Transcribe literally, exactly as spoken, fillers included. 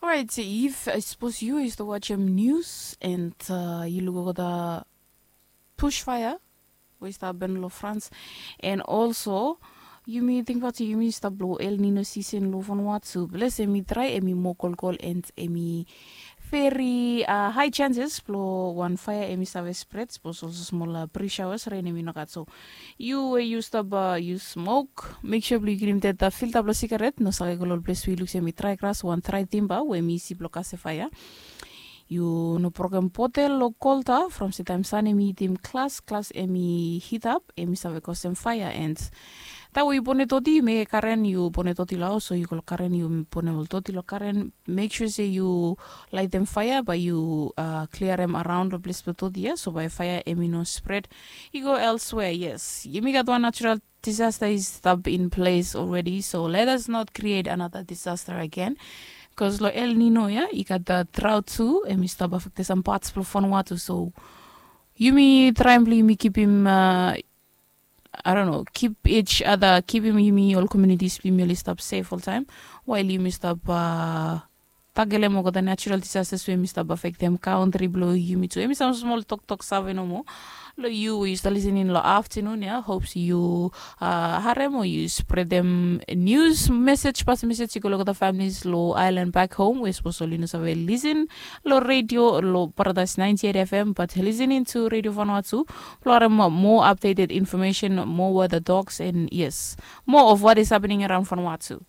Orait, if sapos yu i stap wajem nius and yu luk olgeta bushfire we i stap hapen long Frans, and also yumi tingbaot se yumi stap long El Nino season long Vanuatu. Ples em i drai, em i moa kolkol, and em i veri hai chances blong wan faea em i save spret sapos olsem smol pre showers, ren em i no gat. So yu we yu stap yu smok, mek sua blong yu kilim deta filta blong sigaret, no save go long ol ples we yu luk se em i drai gras o wan drai timba we em i isi blong kasem faea. Yu no brokem botel o kolta from se taem san em i hitim glas, glas em i hitap, em i save kosem faea. And taem we yu bonem doti, yu mekem karen, yu bonem doti long haos o yu go long karen, yu bonem ol doti long karen, mek sua se yu laetem faea, bae yu kliarem araon long ples blong doti ya, so bae faea em i no spret i go elswea. Yes, yumi gat wan natural disaster i stap in ples already, so let us not create another disaster again. Bikos long El Nino ya i gat drought tu, em i stap afektem sam pats blong Vanuatu. So yumi traem blong yumi kipim, I don't know, keep each other, kipim yumi ol communities blong yumi oli stap sef oltaem, wael yumi stap takelem olgeta natural disasters we yumi stap afektem kantri blong yumi tu. Em i sam smol toktok save nomo long yu we yu stap lisening long aftanun ya. Hopes yu harem o yu spretem nius mesej, pas mesej i go long olgeta families long aelan bak hom we sapos oli no save lisen long redio long Paradise ninety eight F M, but listening to Radio Vanuatu blong harem moa updated information, moa weather talks, and yes, moa of what is happening around Vanuatu.